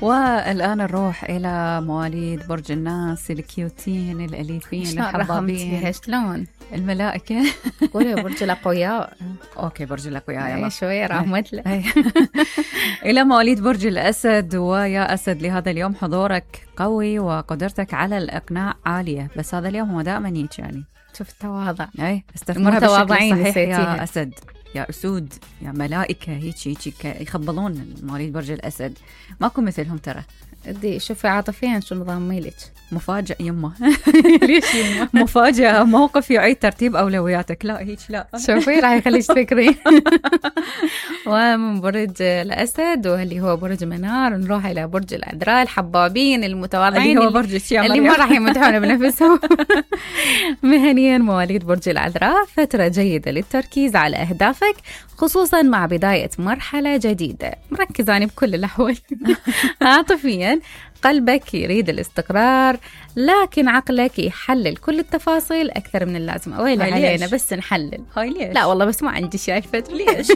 والآن نروح إلى مواليد برج الناس الكيوتين الأليفين الحبابين. شلون؟ الملائكة. قولي برج الأقوياء. أوكي برج الأقوياء يلا. شوية رحمت له. إلى مواليد برج الأسد. ويا أسد لهذا اليوم حضورك قوي وقدرتك على الإقناع عالية، بس هذا اليوم هو دائما هيك يعني. شوف التواضع. استثمرها بالشكل الصحيح يا أسد، يا أسود، يا ملائكة. هيك يخبلون مواليد برج الأسد، ماكو مثلهم ترى. دي شوفي عاطفيا شو نظام ميلك. مفاجأ يمه. ليش يمه؟ مفاجأة، موقف يعيد ترتيب أولوياتك. لا هيك لا. شوفي راح يخليك تفكرين. ومن برج الأسد واللي هو برج منار نروح إلى برج العذراء الحبابين المتواضعين اللي هو برج الشيام اللي ما راح يمدحون بنفسهم. مهنيا مواليد برج العذراء فترة جيدة للتركيز على أهدافك، خصوصا مع بداية مرحلة جديدة. مركزة بكل الأحوال. عاطفيا قلبك يريد الاستقرار، لكن عقلك يحلل كل التفاصيل أكثر من اللازم. أويلي علينا بس نحلل. هاي ليش؟ لا والله بس ما عندي شايفة. ليش؟